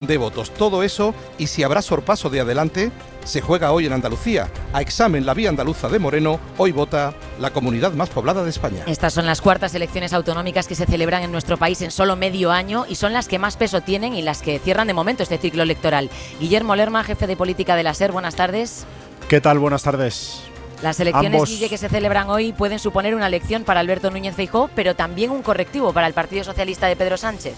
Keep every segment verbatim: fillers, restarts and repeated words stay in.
de votos. Todo eso, y si habrá sorpaso de adelante, se juega hoy en Andalucía. A examen la vía andaluza de Moreno, hoy vota la comunidad más poblada de España. Estas son las cuartas elecciones autonómicas que se celebran en nuestro país en solo medio año y son las que más peso tienen y las que cierran de momento este ciclo electoral. Guillermo Lerma, jefe de política de la SER, buenas tardes. ¿Qué tal? Buenas tardes. Las elecciones, Ambos... Guille, que se celebran hoy pueden suponer una lección para Alberto Núñez Feijóo, pero también un correctivo para el Partido Socialista de Pedro Sánchez.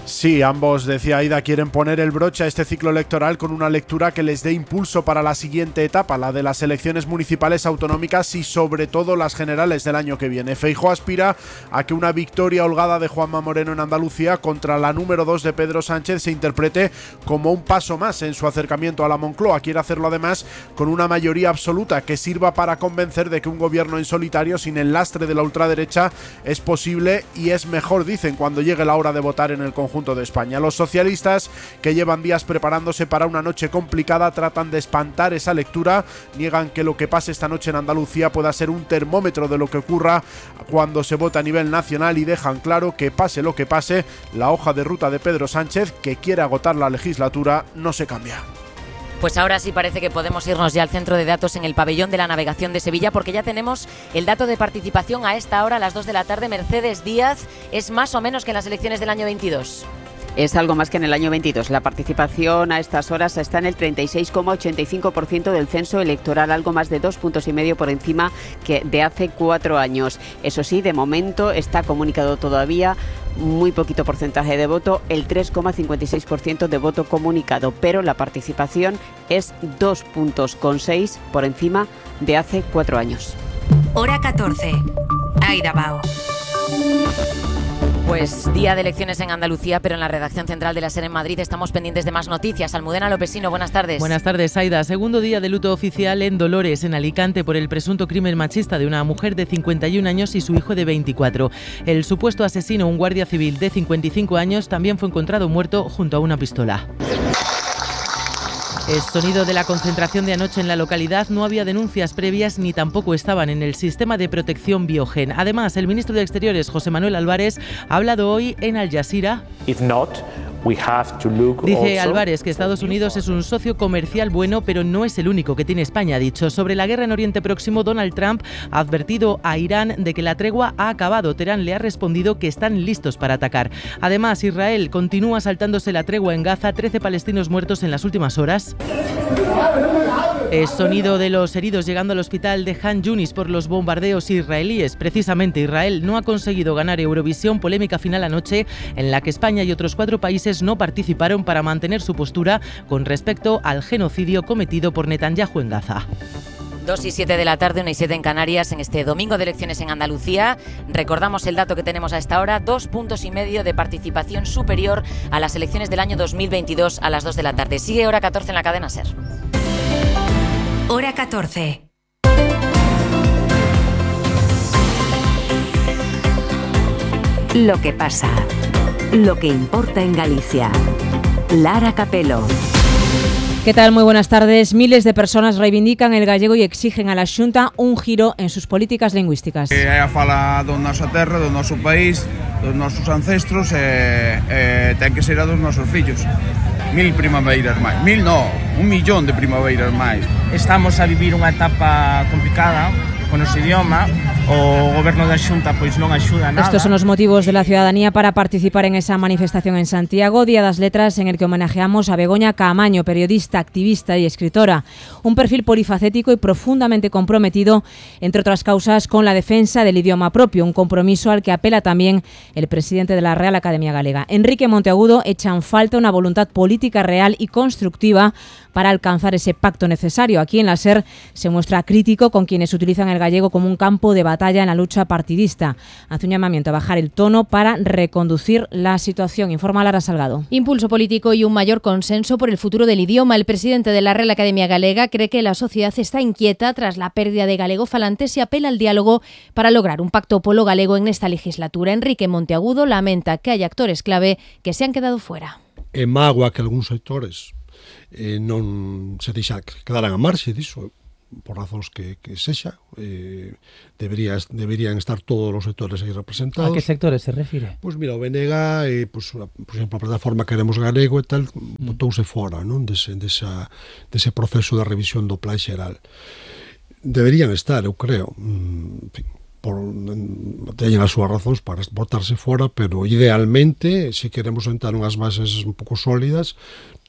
Sí, ambos, decía Aida, quieren poner el broche a este ciclo electoral con una lectura que les dé impulso para la siguiente etapa, la de las elecciones municipales autonómicas y sobre todo las generales del año que viene. Feijóo aspira a que una victoria holgada de Juanma Moreno en Andalucía contra la número dos de Pedro Sánchez se interprete como un paso más en su acercamiento a la Moncloa. Quiere hacerlo además con una mayoría absoluta que sirva para convencer de que un gobierno en solitario sin el lastre de la ultraderecha es posible y es mejor, dicen, cuando llegue la hora de votar en el conjunto de España. Los socialistas, que llevan días preparándose para una noche complicada, tratan de espantar esa lectura, niegan que lo que pase esta noche en Andalucía pueda ser un termómetro de lo que ocurra cuando se vota a nivel nacional y dejan claro que pase lo que pase, la hoja de ruta de Pedro Sánchez, que quiere agotar la legislatura, no se cambia. Pues ahora sí parece que podemos irnos ya al centro de datos en el pabellón de la navegación de Sevilla, porque ya tenemos el dato de participación a esta hora, a las dos de la tarde. Mercedes Díaz, ¿es más o menos que en las elecciones del año veintidós? Es algo más que en el año veintidós. La participación a estas horas está en el treinta y seis coma ochenta y cinco por ciento del censo electoral, algo más de dos puntos y medio por encima que de hace cuatro años. Eso sí, de momento está comunicado todavía muy poquito porcentaje de voto, el tres coma cincuenta y seis por ciento de voto comunicado, pero la participación es dos puntos con seis por encima de hace cuatro años. Hora catorce. Aida Bao. Pues día de elecciones en Andalucía, pero en la redacción central de la SER en Madrid estamos pendientes de más noticias. Almudena Lopesino, buenas tardes. Buenas tardes, Aida. Segundo día de luto oficial en Dolores, en Alicante, por el presunto crimen machista de una mujer de cincuenta y un años y su hijo de veinticuatro. El supuesto asesino, un guardia civil de cincuenta y cinco años, también fue encontrado muerto junto a una pistola. El sonido de la concentración de anoche en la localidad. No había denuncias previas ni tampoco estaban en el sistema de protección Biogen. Además, el ministro de Exteriores, José Manuel Álvarez, ha hablado hoy en Al Jazeera. If not, we have to look Dice also Álvarez que Estados Unidos es un socio comercial bueno, pero no es el único que tiene España, ha dicho. Sobre la guerra en Oriente Próximo, Donald Trump ha advertido a Irán de que la tregua ha acabado. Teherán le ha respondido que están listos para atacar. Además, Israel continúa saltándose la tregua en Gaza, trece palestinos muertos en las últimas horas. El sonido de los heridos llegando al hospital de Han Yunis por los bombardeos israelíes. Precisamente, Israel no ha conseguido ganar Eurovisión, polémica final anoche en la que España y otros cuatro países no participaron para mantener su postura con respecto al genocidio cometido por Netanyahu en Gaza. dos y siete de la tarde, una y siete en Canarias, en este domingo de elecciones en Andalucía. Recordamos el dato que tenemos a esta hora, dos puntos y medio de participación superior a las elecciones del año dos mil veintidós a las dos de la tarde. Sigue Hora catorce en la cadena SER. Hora catorce. Lo que pasa, lo que importa en Galicia. Lara Capelo. ¿Qué tal? Muy buenas tardes. Miles de personas reivindican el gallego y exigen a la Xunta un giro en sus políticas lingüísticas. Que haya fala da nosa terra, do noso país, dos nosos ancestros e, e ten que ser a dos nosos fillos. Mil primaveiras máis. Mil no, un millón de primaveiras máis. Estamos a vivir unha etapa complicada con ese idioma. O goberno da Xunta pois non axuda nada. Estos son los motivos de la ciudadanía para participar en esa manifestación en Santiago, Día das Letras, en el que homenajeamos a Begoña Caamaño, periodista, activista y escritora. Un perfil polifacético y profundamente comprometido, entre otras causas, con la defensa del idioma propio, un compromiso al que apela también el presidente de la Real Academia Galega. Enrique Monteagudo echa en falta una voluntad política real y constructiva para alcanzar ese pacto necesario. Aquí en la SER se muestra crítico con quienes utilizan el gallego como un campo de batalla en la lucha partidista. Hace un llamamiento a bajar el tono para reconducir la situación, informa Lara Salgado. Impulso político y un mayor consenso por el futuro del idioma. El presidente de la Real Academia Galega cree que la sociedad está inquieta tras la pérdida de galegofalantes y apela al diálogo para lograr un pacto polo-galego en esta legislatura. Enrique Monteagudo lamenta que hay actores clave que se han quedado fuera. É mágoa que algúns sectores eh, non se deixa quedaran a marxe diso. por razóns que, que sexa, eh, debería, deberían estar todos os sectores aí representados. A que sectores se refire? Pois mira, o B N G, eh, pois, por exemplo, a plataforma Queremos Galego e tal, mm. botouse fora, non, dese, desa, dese proceso de revisión do Plan Xeral. Deberían estar, eu creo, en fin, por, teñen as súas razóns para botarse fora, pero idealmente, se queremos sentar unhas bases un pouco sólidas,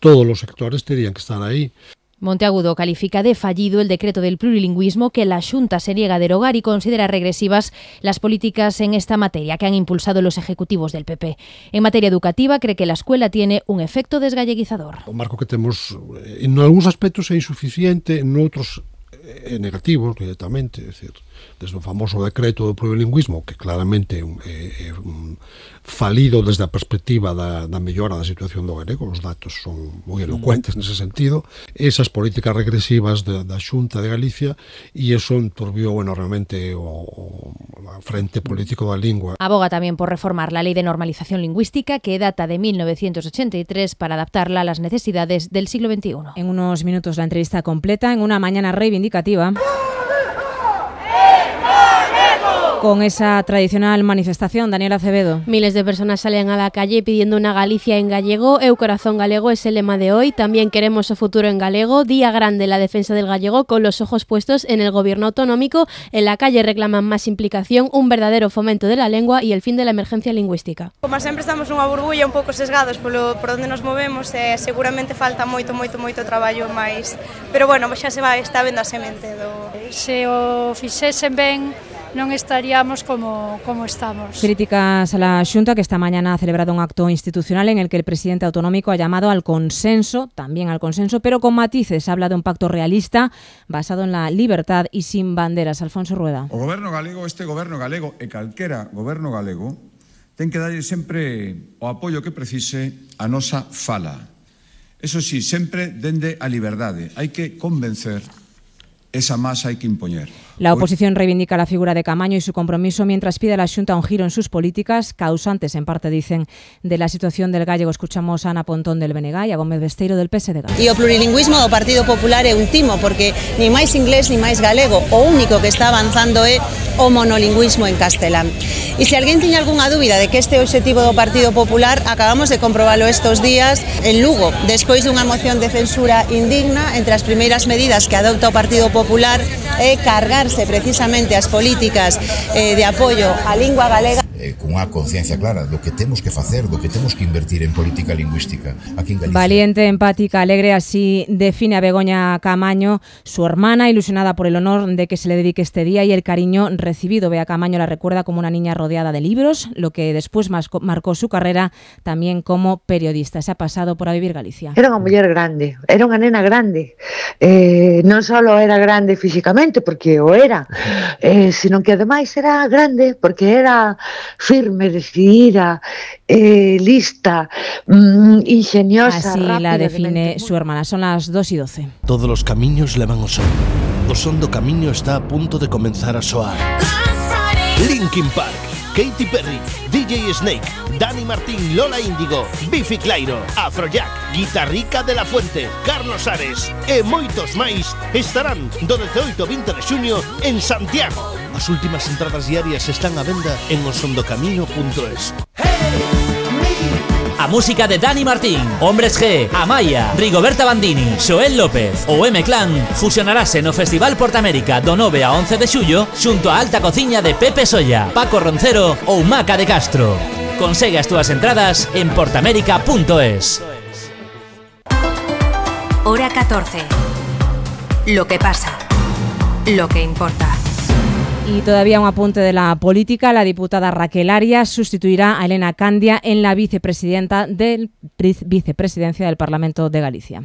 todos os sectores terían que estar aí. Monteagudo califica de fallido el decreto del plurilingüismo que la Xunta se niega a derogar y considera regresivas las políticas en esta materia que han impulsado los ejecutivos del P P. En materia educativa, cree que la escuela tiene un efecto desgalleguizador. O marco que temos, en algúns aspectos é insuficiente, en outros é negativo, directamente, é dicir, desde o famoso decreto do plurilingüismo, que claramente é un, é, é un falido desde a perspectiva da, da mellora da situación do galego, os datos son moi elocuentes nese sentido, esas políticas regresivas da, da Xunta de Galicia, e eso enturbiou enormemente o, o frente político da lingua. Aboga tamén por reformar la Ley de Normalización Lingüística, que data de mil novecientos ochenta y tres, para adaptarla a las necesidades del siglo veintiuno. En unos minutos la entrevista completa en una mañana reivindicativa. Con esa tradicional manifestación, Daniel Acevedo. Miles de personas salen a la calle pidiendo una Galicia en gallego. Eu corazón galego es el lema de hoy. También queremos o futuro en galego. Día grande la defensa del gallego, con los ojos puestos en el gobierno autonómico. En la calle reclaman más implicación, un verdadero fomento de la lengua y el fin de la emergencia lingüística. Como sempre estamos nunha burbulla un pouco sesgados polo, por onde nos movemos, e seguramente falta moito, moito, moito traballo máis. Pero bueno, xa se vai, está vendo a semente do... Se o fixesen ben, non estaríamos como, como estamos. Críticas a la Xunta, que esta mañana ha celebrado un acto institucional en el que el presidente autonómico ha llamado al consenso, también al consenso, pero con matices. Habla de un pacto realista basado en la libertad y sin banderas. Alfonso Rueda. O goberno galego, este goberno galego e calquera goberno galego, ten que darlle sempre o apoio que precise a nosa fala. Eso sí, sempre dende a liberdade. Hai que convencer, esa masa hai que impoñer. La oposición reivindica la figura de Caamaño y su compromiso, mientras pide a la Xunta un giro en sus políticas, causantes en parte, dicen, de la situación del gallego. Escuchamos a Ana Pontón del B N G y a Gómez Besteiro del P S D G. E o plurilingüismo do Partido Popular é un timo, porque ni máis inglés ni máis galego, o único que está avanzando é o monolingüismo en castelán. E se alguén tiña algunha dúbida de que este é o obxectivo do Partido Popular, acabamos de comprobalo estos días en Lugo, despois dunha moción de censura indigna. Entre as primeiras medidas que adopta o Partido Popular é cargar precisamente as políticas eh, de apoio á lingua galega. Eh, con unha conciencia clara do que temos que facer, do que temos que invertir en política lingüística aquí en Galicia. Valiente, empática, alegre, así define a Begoña Caamaño, su hermana, ilusionada por el honor de que se le dedique este día y el cariño recibido. Bea Caamaño la recuerda como una niña rodeada de libros, lo que después marcó su carrera también como periodista. Se ha pasado por A Vivir Galicia. Era unha muller grande, era unha nena grande. Eh, non só era grande físicamente, porque o era, eh, sino que ademais era grande porque era firme, decidida, eh, lista, mmm, ingeniosa, así rápida. La define de su hermana. Son las dos y doce. Todos los camiños levan o son. O son do camiño está a punto de comenzar a soar. Linkin Park, Katy Perry, D J Snake, Dani Martín, Lola Índigo, Bifi Clyro, Afrojack, Guitarrica de la Fuente, Carlos Ares e moitos máis estarán do dezaoito ao vinte de xuño en Santiago. As últimas entradas diarias están á venda en osondocamiño punto es. A música de Dani Martín, Hombres G, Amaya, Rigoberta Bandini, Xoel López ou M-Clan fusionarase no Festival Portamérica do nove a once de xullo xunto a alta cociña de Pepe Solla, Paco Roncero ou Maca de Castro. Consegue as túas entradas en portamérica punto es. Hora catorce. Lo que pasa. Lo que importa. Y todavía un apunte de la política. La diputada Raquel Arias sustituirá a Elena Candia en la vicepresidenta del vicepresidencia del Parlamento de Galicia.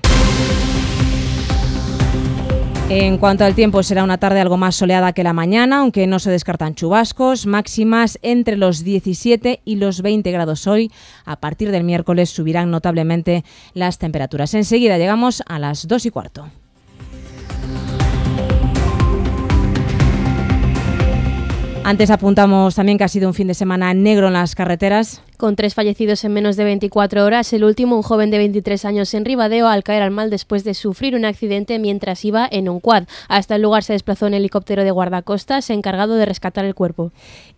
En cuanto al tiempo, será una tarde algo más soleada que la mañana, aunque no se descartan chubascos. Máximas entre los diecisiete y los veinte grados hoy. A partir del miércoles subirán notablemente las temperaturas. Enseguida llegamos a las dos y cuarto. Antes apuntamos también que ha sido un fin de semana negro en las carreteras. con tres fallecidos en menos de veinticuatro horas. El último, un joven de veintitrés años en Ribadeo, al caer al mal después de sufrir un accidente mientras iba en un quad. Hasta el lugar se desplazó un helicóptero de guardacostas encargado de rescatar el cuerpo.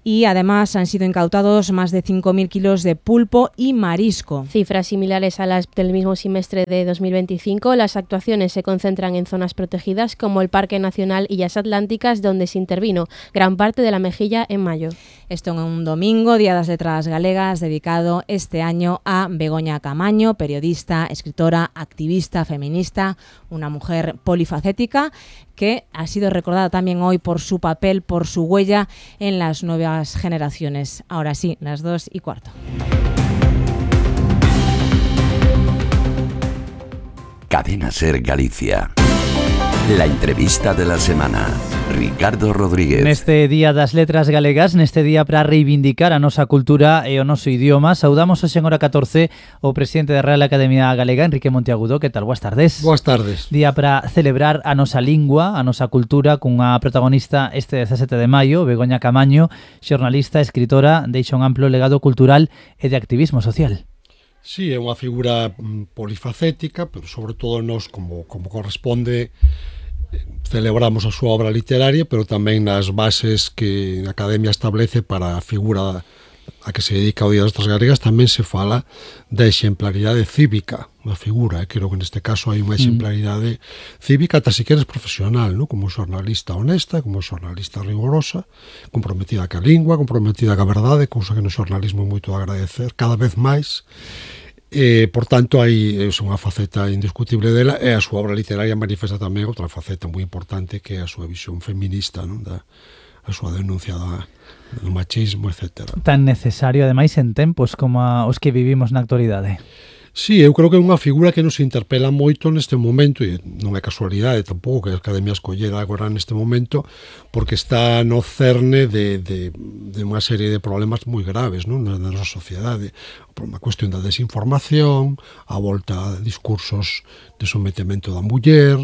Y además han sido incautados más de cinco mil kilos de pulpo y marisco. Cifras similares a las del mismo semestre de dos mil veinticinco. Las actuaciones se concentran en zonas protegidas como el Parque Nacional Illas Atlánticas, donde se intervino gran parte de la mejilla en mayo. Esto en un domingo, Día das Letras Galegas, dedicado este año a Begoña Caamaño, periodista, escritora, activista, feminista, una mujer polifacética que ha sido recordada también hoy por su papel, por su huella en las nuevas generaciones. Ahora sí, las dos y cuarto. Cadena Ser Galicia. La entrevista de la semana. Ricardo Rodríguez. Neste Día das Letras Galegas, neste día para reivindicar a nosa cultura e o noso idioma, saudamos hoxe en hora catorce o presidente da Real Academia Galega, Enrique Monteagudo. Que tal? Boas tardes. Boas tardes. Día para celebrar a nosa lingua, a nosa cultura, cunha protagonista este dezasete de maio, Begoña Caamaño, xornalista, escritora, deixa un amplo legado cultural e de activismo social. Sí, é unha figura polifacética, pero sobre todo nós, como, como corresponde, celebramos a súa obra literaria, pero tamén nas bases que a Academia establece para a figura a que se dedica ao Día das Letras Galegas tamén se fala da exemplaridade cívica da figura. Creo que neste caso hai unha exemplaridade cívica, ata se queres profesional, ¿no? Como xornalista honesta, como xornalista rigorosa, comprometida ca lingua, comprometida ca verdade, cousa que no xornalismo é moito a agradecer cada vez máis. Eh, por tanto, hai é unha faceta indiscutible dela, e a súa obra literaria manifesta tamén outra faceta moi importante, que é a súa visión feminista, non? Da, a súa denuncia da, do machismo, etcétera. Tan necesario, ademais, en tempos como a, os que vivimos na actualidade. Sí, eu creo que é unha figura que nos interpela moito neste momento, e non é casualidade tampouco que a Academia escollera agora neste momento, porque está no cerne de, de, de unha serie de problemas moi graves, non? Na nosa sociedade. Por unha cuestión da desinformación, a volta a discursos de sometemento da muller,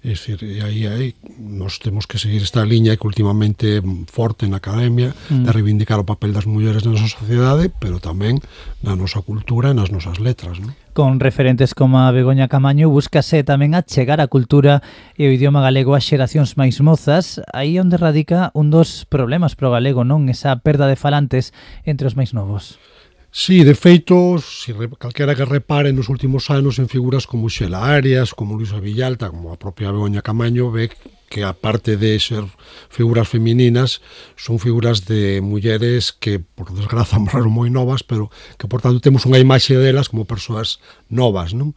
é dicir, e aí, aí nós temos que seguir esta liña que últimamente é forte na Academia, mm. de reivindicar o papel das mulleres na nosa sociedade, pero tamén na nosa cultura e nas nosas letras, non? Con referentes como a Begoña Caamaño, búscase tamén a chegar a cultura e o idioma galego ás xeracións máis mozas, aí onde radica un dos problemas pro galego, non? Esa perda de falantes entre os máis novos. Sí, de feito, si calquera que repare nos últimos anos en figuras como Xela Arias, como Luisa Villalta, como a propia Begoña Caamaño, ve que aparte de ser figuras femininas, son figuras de mulleres que, por desgraza, morreron moi novas, pero que, por tanto, temos unha imaxe delas como persoas novas, non?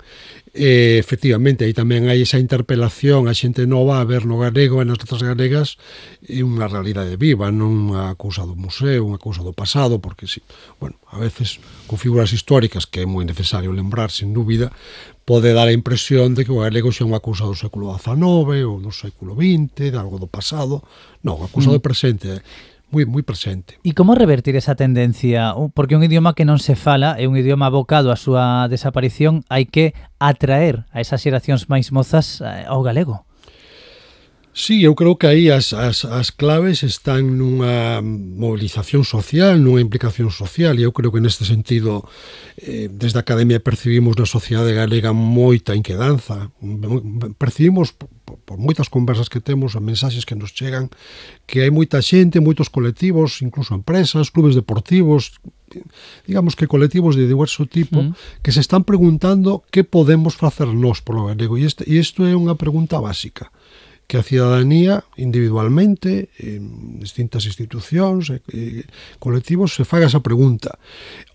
E, efectivamente, aí tamén hai esa interpelación a xente nova a ver no galego e nas letras galegas e unha realidade viva, non unha cousa do museo, unha cousa do pasado, porque, sí, bueno, a veces con figuras históricas que é moi necesario lembrar, sin dúbida, pode dar a impresión de que o galego xa é unha cousa do século dezanove ou do século vinte, de algo do pasado. Non, unha cousa mm. do presente, moi moi presente. E como revertir esa tendencia? Porque un idioma que non se fala é un idioma abocado á súa desaparición, hai que atraer a esas xeracións máis mozas ao galego. Sí, eu creo que aí as, as, as claves están nunha movilización social, nunha implicación social, e eu creo que neste sentido eh, desde a Academia percibimos na sociedade galega moita inquedanza, percibimos por, por moitas conversas que temos, a mensaxes que nos chegan, que hai moita xente, moitos colectivos, incluso empresas, clubes deportivos, digamos que colectivos de diverso tipo, mm. que se están preguntando que podemos facer nós polo galego, e, este, e isto é unha pregunta básica, que a cidadanía individualmente, en distintas institucións e, e colectivos se faga esa pregunta.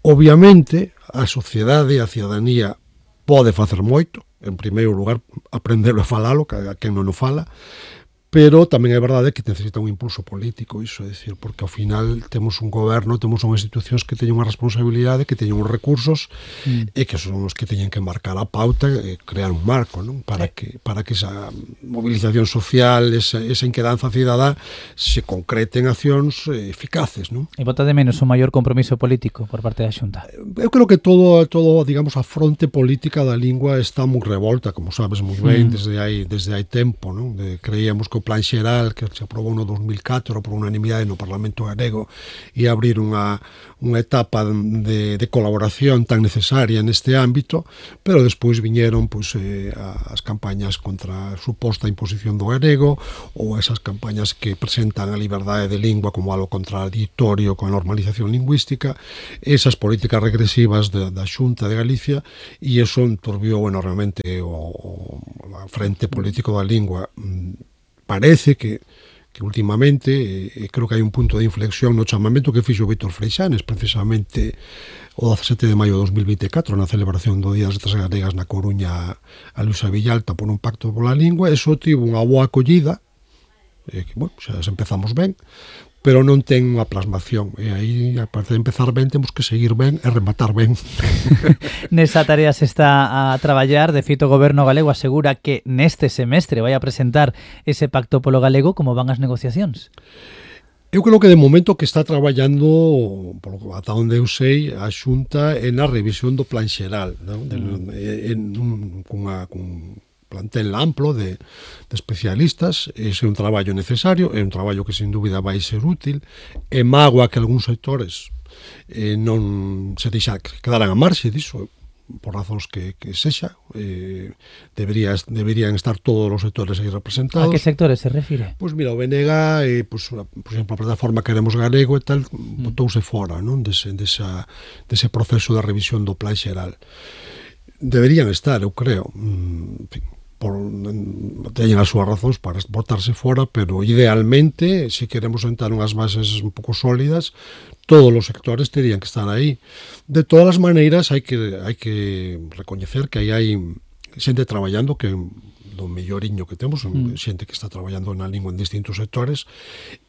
Obviamente, a sociedade e a cidadanía pode facer moito, en primeiro lugar, aprendelo a falalo, que a quen non o fala, pero tamén é verdade que necesita un impulso político, iso, é dicir, porque ao final temos un goberno, temos unhas institucións que teñen unha responsabilidade, que teñen uns recursos mm. e que son os que teñen que marcar a pauta e crear un marco, non? Para que para que esa movilización social, esa, esa inquedanza cidadá se concrete en accións eficaces, non? E bota de menos un maior compromiso político por parte da Xunta. Eu creo que todo todo, digamos, a fronte política da lingua está moi revolta, como sabes moi ben, mm. desde hai desde hai tempo, non? De, creíamos que o do Plan Xeral que se aprobou no dos mil catro por unanimidade no Parlamento galego e abrir unha, unha etapa de, de colaboración tan necesaria neste ámbito, pero despois viñeron pois, eh, as campañas contra a suposta imposición do galego ou esas campañas que presentan a liberdade de lingua como algo contradictorio con a normalización lingüística, esas políticas regresivas da, da Xunta de Galicia, e iso enturbiou enormemente o, o a frente político da lingua. Parece que que últimamente, eh, creo que hai un punto de inflexión no chamamento que fixo Víctor Freixanes, precisamente o dezasete de maio de dos mil vinte e catro, na celebración do Día das Letras Galegas na Coruña a Luisa Villalta por un pacto pola lingua. Eso tivo unha boa acollida, eh, que, bueno, xa empezamos ben, pero non ten unha plasmación, e aí, aparte de empezar ben, temos que seguir ben e rematar ben. Nesa tarea se está a traballar. De feito, o Goberno galego asegura que neste semestre vai a presentar ese pacto polo galego. Como van as negociacións? Eu creo que de momento que está traballando, por, ata onde eu sei, a Xunta en a revisión do Plan Xeral, non? De, en, en, cunha, cun plantel amplo de, de especialistas. Ese é un traballo necesario, é un traballo que sin dúbida vai ser útil, e mágoa que algúns sectores eh, non se deixa quedaran a marxe disso, por razóns que, que sexa. Eh, debería, deberían estar todos os sectores aí representados. A que sectores se refire? Pois mira, o B N G, eh, pues, por exemplo, a plataforma Queremos Galego e tal, mm. botouse fora, non? Dese, desa, dese proceso de revisión do Plan Xeral. Deberían estar, eu creo. En fin, por, teñen as súas razóns para botarse fora, pero idealmente, se queremos sentar unhas bases un pouco sólidas, todos os sectores terían que estar aí. De todas as maneiras, hai que, hai que recoñecer que aí hai xente traballando que do melloriño que temos, mm. xente que está traballando na lingua en distintos sectores,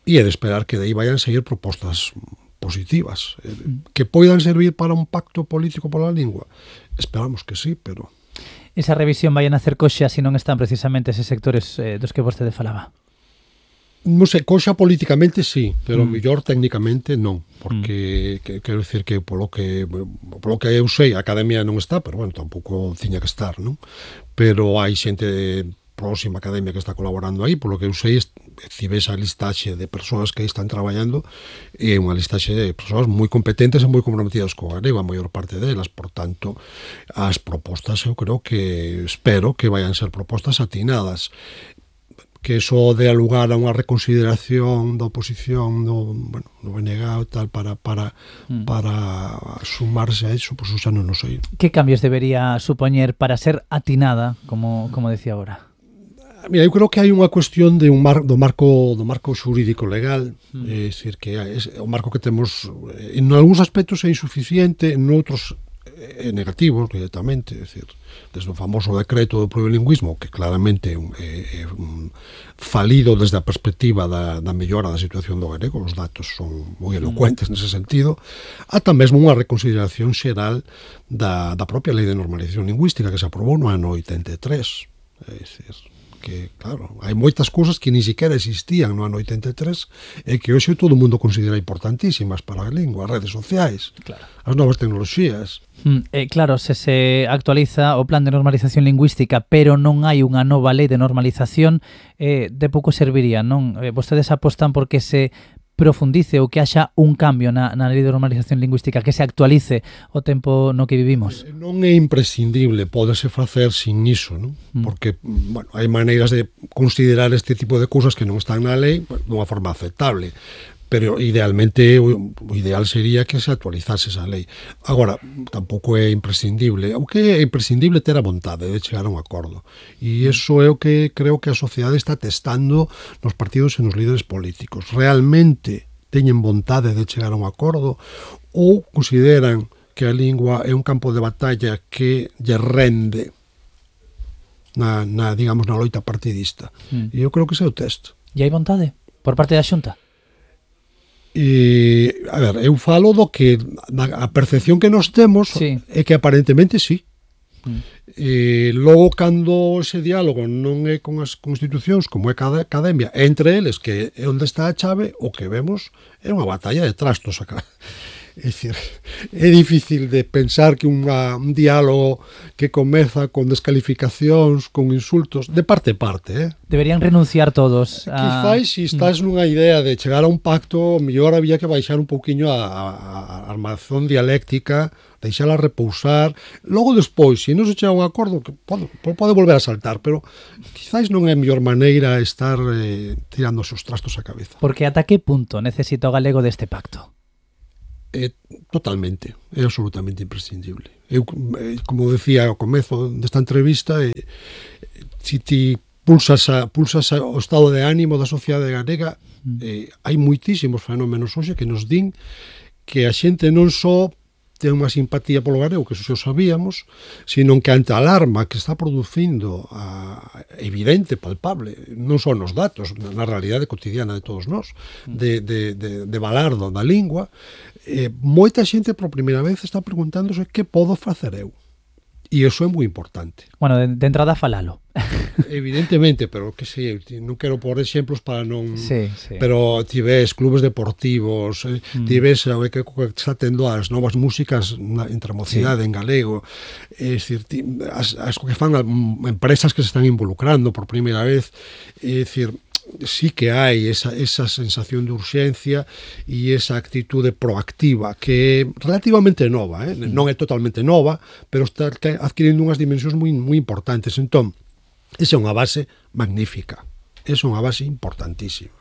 e é de esperar que de aí vayan seguir propostas positivas, mm. que poidan servir para un pacto político pola lingua. Esperamos que sí, pero... Esa revisión vai a nacer coxa se non están precisamente eses sectores eh, dos que vostede falaba? Non sei, coxa políticamente sí, pero mm. mellor técnicamente non, porque mm. que, quero dicir que polo que polo que eu sei, a academia non está, pero bueno, tampouco tiña que estar, non? Pero hai xente próxima academia que está colaborando aí, polo que eu sei, se ves a listaxe de persoas que aí están traballando, é unha listaxe de persoas moi competentes e moi comprometidas co galego, a maior parte delas. Por tanto, as propostas eu creo que, espero que vayan ser propostas atinadas, que eso dé lugar a unha reconsideración da oposición do, bueno, do B N G e tal para, para, mm. para sumarse a eso, pois pues, xa non o sei. Que cambios debería supoñer para ser atinada, como, como decía agora? Mira, eu creo que hai unha cuestión de un mar, do marco do marco xurídico legal, mm. é dicir que é, o marco que temos en algúns aspectos é insuficiente, en outros é negativo directamente, é dicir, desde o famoso decreto do plurilingüismo, que claramente é, un, é, é un falido desde a perspectiva da, da mellora da situación do galego, os datos son moi elocuentes mm. nese sentido, ata mesmo unha reconsideración xeral da, da propia lei de normalización lingüística que se aprobou no ano oitenta e tres, é dicir, que, claro, hai moitas cousas que ni siquiera existían no ano oitenta e tres e que hoxe todo o mundo considera importantísimas para a lingua, as redes sociais, claro, as novas tecnoloxías. Mm, eh, claro, se se actualiza o plan de normalización lingüística, pero non hai unha nova lei de normalización, eh, de pouco serviría, non? Eh, vostedes apostan porque se profundice ou que haxa un cambio na, na lei de normalización lingüística, que se actualice o tempo no que vivimos? Non é imprescindible, pódese facer sin iso, non? Mm. Porque, bueno, hai maneiras de considerar este tipo de cousas que non están na lei, bueno, dunha forma aceptable, pero idealmente o ideal sería que se actualizase esa lei. Agora, tampouco é imprescindible, aunque é imprescindible ter a vontade de chegar a un acordo. E iso é o que creo que a sociedade está testando nos partidos e nos líderes políticos. Realmente teñen vontade de chegar a un acordo ou consideran que a lingua é un campo de batalla que lle rende na, na digamos, na loita partidista. Mm. E eu creo que ese é o test. E hai vontade por parte da Xunta? E, a ver, eu falo do que a percepción que nos temos sí. é que aparentemente sí. Mm. E logo, cando ese diálogo non é con as constitucións, como é cada academia, entre eles, que é onde está a chave, o que vemos é unha batalla de trastos acá. É dicir, é difícil de pensar que unha, un diálogo que comeza con descalificacións, con insultos, de parte a parte, eh? Deberían renunciar todos a... Quizás, se estás nunha idea de chegar a un pacto, mellor había que baixar un pouquiño a, a, a armazón dialéctica, deixala repousar, logo despois, se non se chega a un acordo, que pode, pode volver a saltar, pero quizás non é a mellor maneira estar eh, tirando os trastos á cabeza. Porque ata que punto necesita o galego deste pacto? É totalmente, é absolutamente imprescindible. Eu, como decía ao comezo desta entrevista, eh, se ti pulsas, a, pulsas a, o estado de ánimo da sociedade galega, eh, hai moitísimos fenómenos hoxe que nos din que a xente non só ten unha simpatía polo galego, que eso xa sabíamos, sino que ante a alarma que está producindo a, evidente, palpable, non son os datos, na realidade cotidiana de todos nós, de, de, de, de balardo da lingua, eh, moita xente por primeira vez está preguntándose que podo facer eu. E iso é moi importante. Bueno, de, de entrada falalo. Evidentemente, pero que sei, non quero pôr exemplos para non... Sí, sí. Pero ti ves clubes deportivos, eh, mm. ti ves o que está tendo as novas músicas na, entre a mocidade sí. en galego, é dicir, ti, as, as que fan empresas que se están involucrando por primeira vez, é dicir, sí que hai esa, esa sensación de urxencia e esa actitude proactiva que é relativamente nova, eh? non é totalmente nova, pero está adquirindo unhas dimensións moi, moi importantes. Entón, esa é unha base magnífica, esa é unha base importantísima.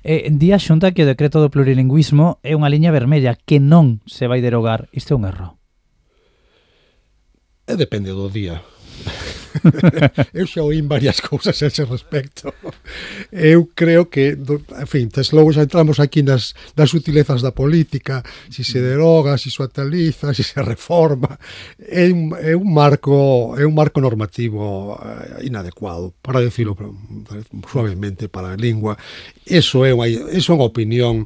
Eh, di a Xunta que o decreto do plurilingüismo é unha liña vermella que non se vai derogar. Isto é un erro. E depende do día. Eu xa oín varias cousas a ese respecto. Eu creo que, en fin, tes logo xa entramos aquí nas, nas sutilezas da política, si se deroga, si se actualiza, si se reforma. É un, é un marco é un marco normativo eh, inadecuado, para decirlo suavemente, para a lingua. Eso é unha, eso é unha opinión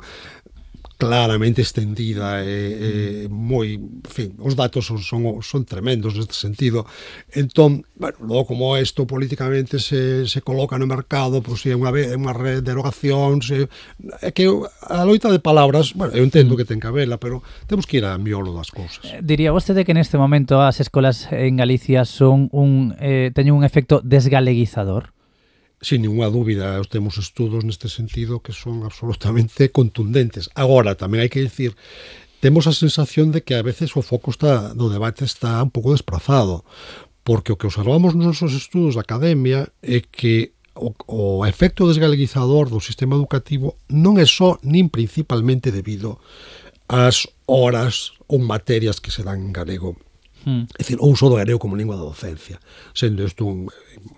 claramente extendida e, e moi, en fin, os datos son, son, son tremendos neste sentido. Entón, bueno, logo como isto políticamente se, se coloca no mercado, pois pues, é unha, unha derogación, se, é que a loita de palabras, bueno, eu entendo que ten que habela, pero temos que ir a miolo das cousas. Diría vostede que neste momento as escolas en Galicia son un, eh, teñen un efecto desgaleguizador? Sin ninguna dúbida, temos estudos neste sentido que son absolutamente contundentes. Agora, tamén hai que dicir, temos a sensación de que a veces o foco está do debate está un pouco desprazado, porque o que observamos nos nosos estudos da academia é que o, o efecto desgaleguizador do sistema educativo non é só nin principalmente debido ás horas ou materias que se dan en galego. Hmm. É dicir, o uso do galego como lingua da docencia, sendo isto un,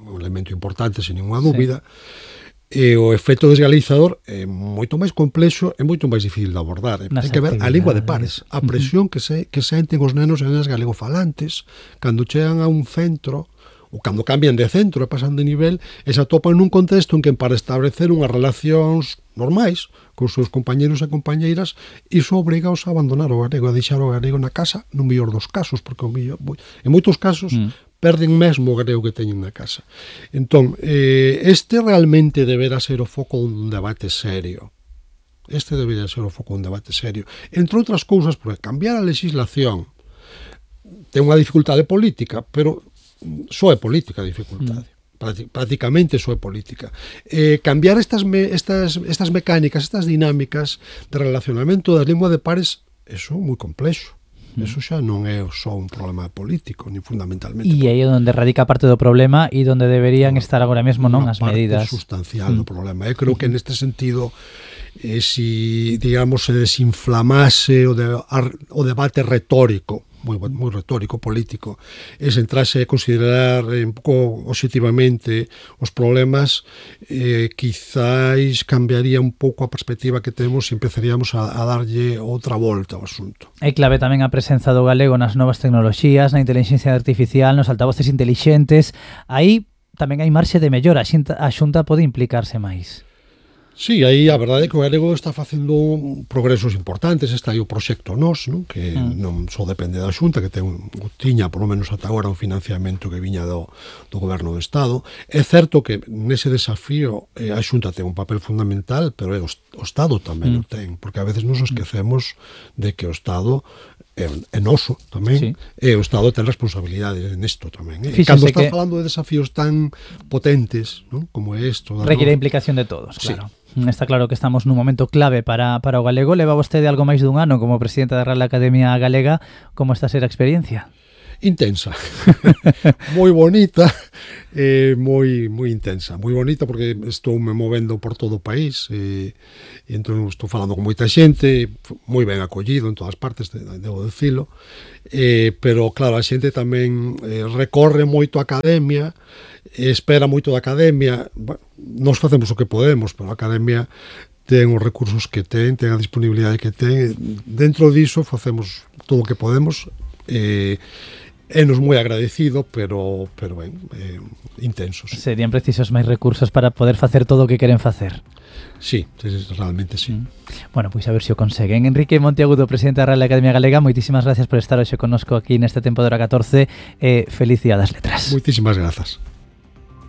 un elemento importante, sen ninguna dúbida, sí. E o efecto desgaleguizador é moito máis complexo e moito máis difícil de abordar. Ten que ver a lingua de pares, a presión que se que senten os nenos e nenas galegofalantes cando chegan a un centro ou cando cambian de centro e pasan de nivel e se atopan nun contexto en que para establecer unhas relacións normais con os seus compañeros e compañeiras iso obrigaos a abandonar o galego, a deixar o galego na casa no mellor dos casos, porque o mellor, en moitos casos mm. perden mesmo o galego que teñen na casa. Entón, eh, este realmente deberá ser o foco dun debate serio. Este debería ser o foco dun debate serio. Entre outras cousas, porque cambiar a legislación ten unha dificultade política, pero só é política a dificultade. Mm. Prácticamente só é política. Eh, cambiar estas, me, estas, estas mecánicas, estas dinámicas de relacionamento das linguas de pares, eso é moi complexo. Mm. Eso xa non é só un problema político, ni fundamentalmente. E aí é onde radica parte do problema e onde deberían no, estar agora mesmo non as medidas. Unha parte sustancial mm. do problema. Eu creo que neste sentido, eh, si, digamos, se desinflamase o, de, o debate retórico, moi, moi retórico, político, e se entrase a considerar eh, un pouco obxectivamente os problemas, eh, quizáis cambiaría un pouco a perspectiva que temos e empezaríamos a, a darlle outra volta ao asunto. É clave tamén a presenza do galego nas novas tecnoloxías, na inteligencia artificial, nos altavoces intelixentes. Aí tamén hai marxe de mellora, a Xunta, a Xunta pode implicarse máis. Sí, aí a verdade é que o galego está facendo progresos importantes. Está aí o proxecto Nós, non? Que mm. non só depende da Xunta, que ten, tiña, por lo menos ata agora, un financiamento que viña do, do Goberno do Estado. É certo que nese desafío eh, a Xunta ten un papel fundamental, pero é o, o Estado tamén mm. o ten, porque a veces nos esquecemos de que o Estado é, é noso tamén, sí. E o Estado ten responsabilidade nesto tamén. Eh? Cando estás que... falando de desafíos tan potentes, non? Como é isto... Requiere a implicación de todos, claro. Sí. Está claro que estamos nun momento clave para, para o galego. Leva vostede algo máis dun ano como presidente da Real Academia Galega. Como está a ser a experiencia? Intensa. Moi bonita, eh, moi moi intensa. Moi bonita porque estou me movendo por todo o país e, e entón estou falando con moita xente, moi ben acollido en todas partes, debo decilo. Eh, pero claro, a xente tamén eh, recorre moito a academia, espera moito da academia. Bueno, nos facemos o que podemos, pero a academia ten os recursos que ten, ten a disponibilidade que ten. Dentro diso facemos todo o que podemos. Eh, é nos moi agradecido, pero pero ben, eh, intensos. Serían precisos máis recursos para poder facer todo o que queren facer. Sí, realmente sí. Mm. Bueno, pois a ver se o conseguen. Enrique Monteagudo, presidente da Real Academia Galega, moitísimas gracias por estar hoxe connosco aquí neste tempo de hora catorce. Eh, feliz Día das Letras. Moitísimas grazas.